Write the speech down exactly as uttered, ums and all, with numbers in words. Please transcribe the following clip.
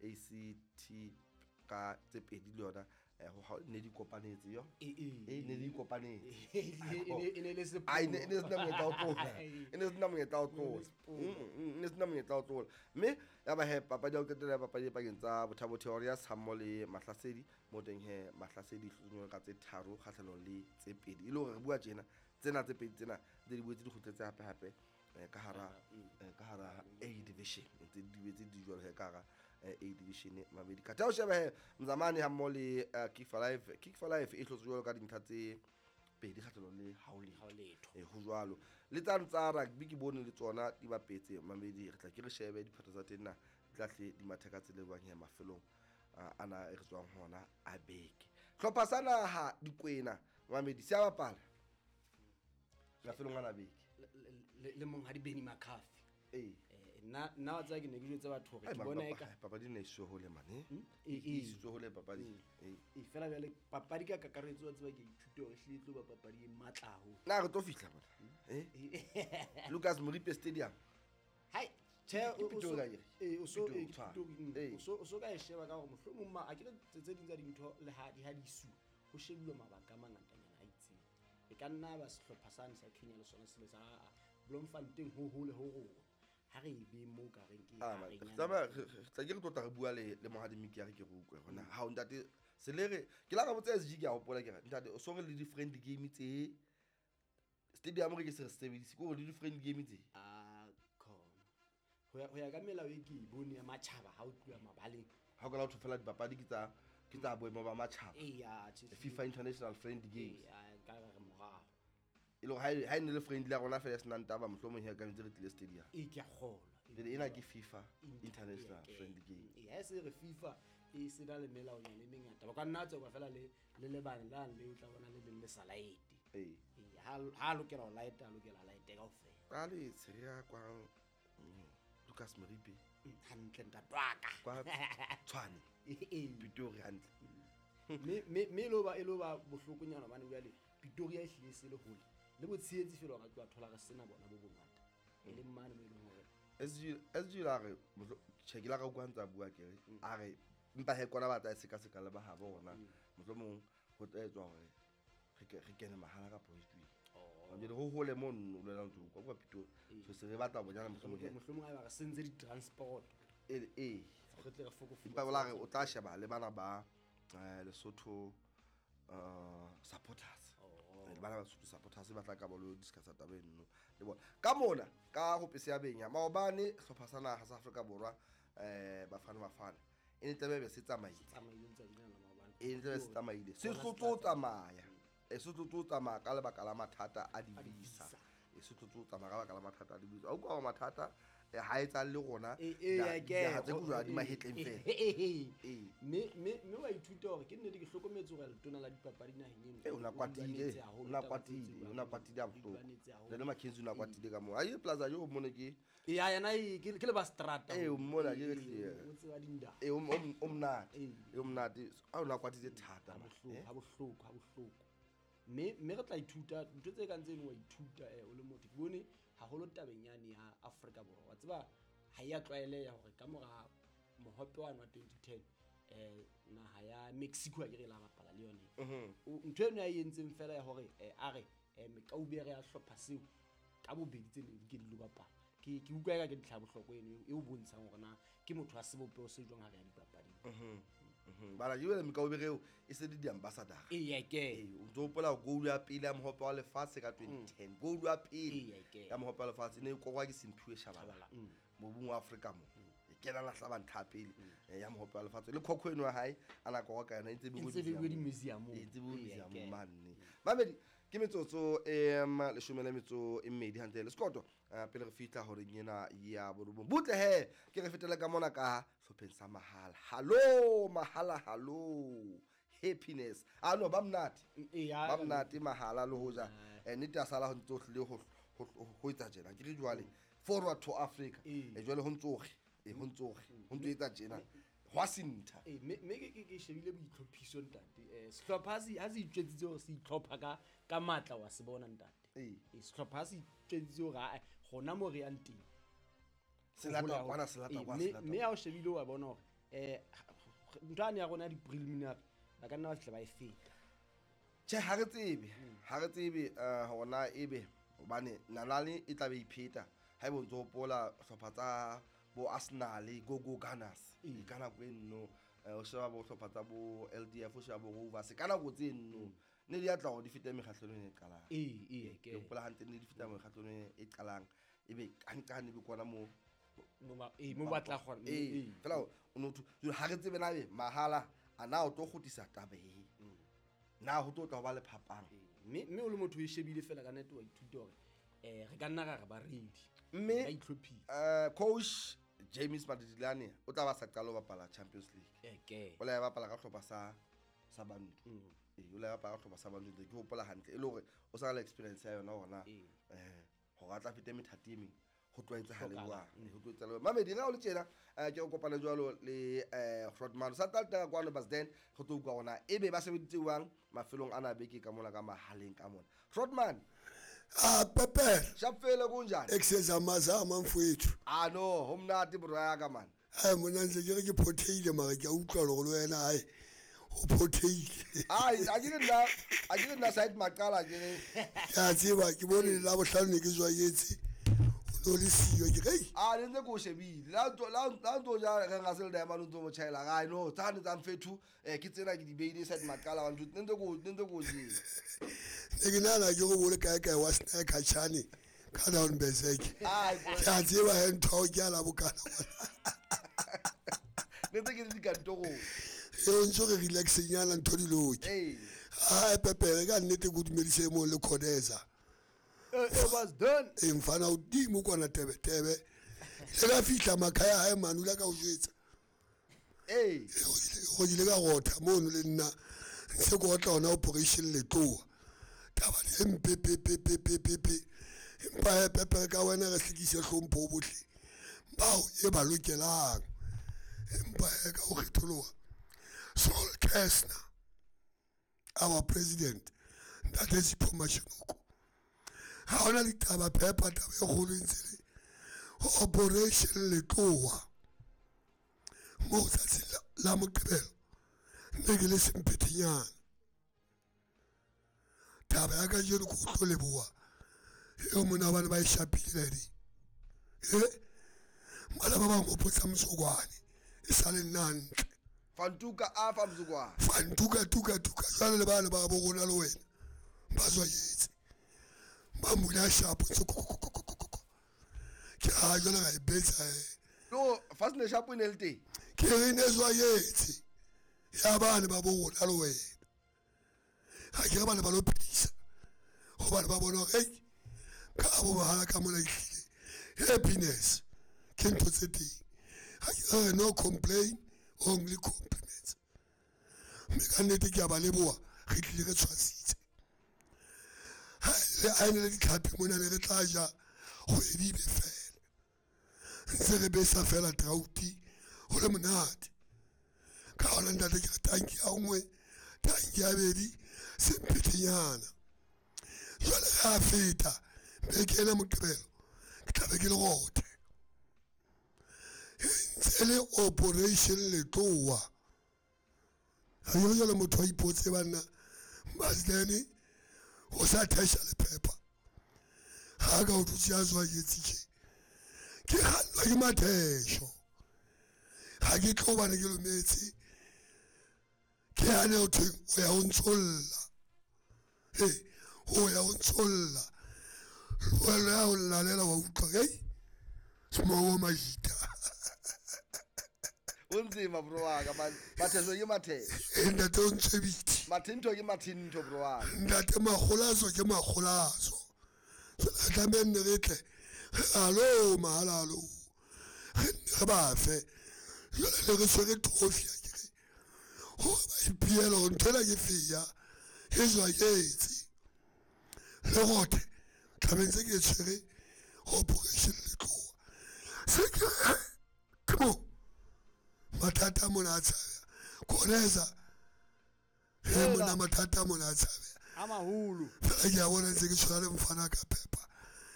A C T ka tse pedi le yona ho ne di kopanetse yo e ne di kopanetse e ne le se ai ne ne sna monyetla o tlola e ne sna monyetla o tlola ne sna monyetla o tlola mme ya ba he papadi ya ho qetela ya papadi e pakeng tsa Bothabo Warriors hammoho le Mahlasedi mo teng he Mahlasedi hlotswe ka tse tharo kgahlanong le tse pedi e le hore re bua tjena tsena tse pedi tsena tse di boetse di kgutletse hape hape ka hara ka hara A division ntse di boetse di jwalo he ka hara A division mabedi ka tao sheba he Mzamani hammoho le Kick for Life Kick for Life e hlotswe jwalo ka dintlha tse pedi kgahlanong le haoletho e ho jwalo le tsane tsa rugby ke bone le tsona di bapetse mamedi re tla ke re shebe diphatho tsa teng na di tla hle di matha ka tsela e bang he mafelong ana e re tswang hona a beke hlopha sa naha Dikwena mamedi se a bapala mafelong ana beke le monghadi Benny McCarthy eh nna nna wa tsaya ke ne ke jwetse batho hore ke bona eka papadi ne iswe hole mane e iswe hole papadi e e fela bjale papadi ka kakaretso wa tseba ke ithute hore ehlile tlo ba papadi e matla haholo na re tlo fihla bona eh Lucas Moripe Stadium hai che o so e o so e o so ka e sheba ka hore mohlomong ma a ke tse ding tsa dintho le ha di ha di isu ho shebuwa mabaka a mangatanyana a itseng e ka nna ba sehlopha sane sa Kenya le sona se le sa Bloemfontein ho hole ho rona ha re be mo ka reng ke ha re tsamaya tla ke re tlo tla re bua le le Mohadi Miki ya re ke re utlwe hona ha o ntate se le re ke la ka botsa S G ke a hopola ke re ntate o so re le di friendly game tse stadium re ke se re sebedise ke hore le di friendly game tse a khona ho ya ho ya ka melao e ke e bone ya matjhaba ha o tluwa mabaleng ha o ka la ho fela dipapadi ke tsa ke tsa boemo ba matjhaba e ya FIFA International Friendly Games e ka re morao e le ha ha ne le friendly ya rona fela senang taba mohlomong he ka ntse re tlile stadium e ke a kgolwa le ena ke FIFA International Friendly Game e ha se re FIFA e se na le melao nyane e mengata ba ka nna tswa fela le le lebane la le o tla bona le leng le sa laete e ha ha lokela ho laeta lokela laete kaofela ka le tsheya kwa Lucas Moripe hantle ntatwaka kwa Tshwane e Pretoria hantle me me me lo ba e lo ba bohlokonyana bane jwale Pretoria e hlile se le hole le botshehetsi fela re tlo thola re sena bona bo bongata e le mane mo e leng hore S G S G la re che ke la ka kwa ntsa bua ke re a re mpa he kona batla se ka se ka le ba ha bona mohlomong ho tla etswa hore re ke re kene mahala ka poetry oh jwale ho hole mo nno le ntse kwa kwa Pretoria so se re batla bonyana mohlomong mohlomong ha ba re sentse di transport e e re tle re fokofo mpa bola re o tla sheba le bana ba Lesotho uh supporters le bana ba Lesotho supporters ba tla ka bolo discuss taba eno le bona ka mona ka ho pese ya benya maobane hlopha sa naha sa Afrika Borwa eh Bafana Bafana e ne tlabe be se tsamaile tsamaile ntse di na maobane e ne tlabe se tsamaile se tlotlo tsamaya e se tlotlo tsamaya ka lebaka la mathata a di-visa e se tlotlo tsamaya ka lebaka la mathata a di-visa o kwa mathata ha e tsa le rona e ha tse kujwa di mahetleng fela e me me me wa ithuta hore ke nnete ke hlokometse hore letona la dipapadi naheng eno e ona kwatile ona kwatile ona kwatile a bohloko le le McKenzie ona kwatile ka mo a ye plaza yo mone ke e ya yena ke le ba strata e o mmona ke hle o tseba dinda e o o mnate e o mnate a ona kwatile thata ha bohloko ha bohloko ha bohloko me me re tla ithuta ntho tse kang tseno wa ithuta eh o le motho ke bone haholo tabeng yane ya Afrika Borwa wa tseba ha ya tlwaeleya hore ka mora mohope wa twenty ten eh naha ya Mexico a ke re la bapala le yone ntho eno ya e entseng fela ya hore a re mekaubere ya hlopha seo ka bobedi tse neng di ke di lo bapala ke ke utlwa eka ke ntlha bohloko eno e o bontshang hore na ke motho wa sebopeho se jwang ha re ya dipapading. Mhm. Bala jwale mekaubere eo e se di di-ambassador. Eya ke. Ee, o ntso hopola goal ya pele ya mohope wa lefatshe ka twenty ten. Goal ya pele ya mohope wa lefatshe ne e korwa ke Simphiwe Tshabalala. Mobung wa Afrika mo. E kena la hlaba ntha pele ya mohope wa lefatshe. Le khokho eno ya hae a na korwa ka yona e ntse e di-museum. E ntse museum mane. Mamedi ke metsotso e leshome le metso e mmedi hantle le sekoto pele re fihla hore ena ya borobong. Butle he ke re fetele ka mona ka hlopheng sa mahala. Hallo mahala hallo. Happiness. Ah no ba mnate. Ba mnate mahala le hoja. Nnete a sala ho ntso hlile ho ho etsa tjena. Ke re jwale forward to Africa. E jwale ho ntsoge. E ho ntsoge. Ho ntso etsa tjena. Hwa sintha. Eh me me ke ke shebile boitlhophiso ntate. Eh sehlopha se ha se itjwetsitse hore se itlhopha ka ka matla wa se bona ntate. Eh sehlopha se itjwetsitse hore gona mo re yang teng. Se lata kwana se lata kwa se lata. Mme ha o shebile wa bona hore Eh ntho ane ya rona ya di-preliminary ba ka nna ba fihla ba e feta. Tjhe, ha re tsebe, ha re tsebe eh hore na ebe hobane nalane e tla be ipheta ha ebe o ntso hopola hlopha tsa bo Arsenal, go go Gunners Ee. ka nako e nno eh, o sheba bo hlopha tsa bo L D F, o sheba bo Rovers ka nako tse nno ne di atla hore di fete mekgahlelong e qalang. Ee, ee, Ke hopola hantle ne di feta mekgahlelong e qalang ebe kanqane ebe kwana moo Mo ba- ee, mo ba tla kgona. ee Ee. fela o no thu jwale ha re tsebe na ebe mahala a na o tlo kgutlisa taba e na ho tlo tla ho ba le phapang. Mme mme o le motho o e shebile fela ka nnete wa ithuta hore eh re ka nna ra re ba ready. Mme Ba itlhophile. eh coach James Madidilane o tla ba sa qala ho bapala Champions League. Eh, ke. O la bapala ka hlopha sa sa Bantu. Mm. Ee, o la bapala ka hlopha sa Bantu ke hopola hantle e le hore o sa na le experience ya yona hore na Ee. eh hore a tla fete methati e meng ho tlwaetsahale Hlokahala. jwang, ho tlwaetsahale jwang. Mamedi re ha o le tjena eh ke o kopane jwalo le eh Grootman sa tla tla kwano Basden re tlo utlwa hore na ebe ba sebeditse jwang mafelong ana a beke ka mona ka mahaleng ka mona. Grootman. Ah, Pepe. Shapfele kunjani? Exezamazama mfowethu. Ah no, ho monate bro ya ka man. Ai mona ntse ke re ke photheile mara ke a utlwa hore le wena ai o photheile. Ai a ke nna, a ke nna side maqala ke re. Ke a tseba ke bone la bohlano ne ke tswayetse. O no le siyo ke re. Ah ne ntse ke o shebile. La ntso la la ntso ja re nga se le diamond ntso mo tjhaela. Ai no, tsane tsa mfethu eh ke tsena ke di beile side maqala wa ntho ne ntse ko ne ntse ko jele. Ne ke nahana ke go bole kae kae wa snack chane ka down berserk. Ai ke a tseba he ntho ke a la bokana. Ne ntse ke le dikantorong. E o ntso re relaxenyana ntho di loke. Ee. Ai Pepe ka nnete ke dumedise mo le Khodeza. It was done. E mfana hodimo kwana tebe tebe. Le ka fihla makhaya hae mane o ile ka o jwetsa. Ee. Go ile ka rotha mono le nna. Ntse ke otla hona operation letloa. Taba e mpe pe pe pe pe pe pe. Empa he Pepe ka wena re hlekise hlompho bohle. Bao e ba lokelang. Empa he ka o kgetholoha. Saul Kastner, our president, Ntate Sipho Mashinoko. Ha hona ditaba phepa taba e kgolo e ntse le operation letloa. Mo tsatsing la, la Moqebelo ne ke le semphethenyana. Taba ya kajeno ke o tlo leboha eo mona bane ba e shapile ladi. Eh? Bana ba bang hopotsa Mzukwane e sale nna hantle. Fantuka a fa Mzukwane. Fantuka tuka tuka jwale le bana ba bo rona le wena. Ba tswayetse. Ba mula shapo ntse ko ko ko ko ko ko. Ke ha jwale ga e betsa eh. No, fast ne shapo ne le teng. Ke re ne tswayetse. Ya bana ba bo rona le wena. Ha ke re bana ba lo phedisa. Hobane ba bona hore ei ka bo bahala ka mona ehlile. Happiness ke ntho tse teng. Ha ke re no complain, only compliments. Mme ka nnete ke a ba leboha, re tlile re tshwasitse. Ha le a ne le ditlhapi mona ne re tla ja kgwedi be fela. Ntse re besa fela trouti ho le monate. Ka hona ntate ke re tanki ya nngwe, tanki ya bedi, semphethenyana. Jwale re a feta beke ena Moqebelo ke tla be ke le rothe. Ntse le operation letloa. Ha ke re jwale motho a ipotse banna Basdene o sa thesha le phepa. Ha ka o dutse a tswayetse tje. Ke kgannwa ke mathesho. Ha ke tlo bana ke lometse. Ke hane ho thweng o ya ho ntsholla. He, o ya ho ntsholla. Wena ya ho llalela wa utlwa, hei. Smowo majita. O nzima bro wa ka man. Mathesho ke mathesho. E ntate o ntshebitse. Mathinto ke mathinto bro wa ka. Ntate makgolazo ke makgolazo. So tlameha nne re tle. Alo mahala alo. Re nne re ba fe. Jwale ne re tshwere trophy a ke re. Hore ba ipiela hore ntho ena ke feya. E jwayetse. Le rothe. Tlameha ntse ke e tshwere operation letloa. Se ke ke mo. Mathata a mona a tshabeha. Kgoneza. He mona mathata a mona a tshabeha. A maholo. Fela ke a bona ntse ke tshwana le mfana ka phepa.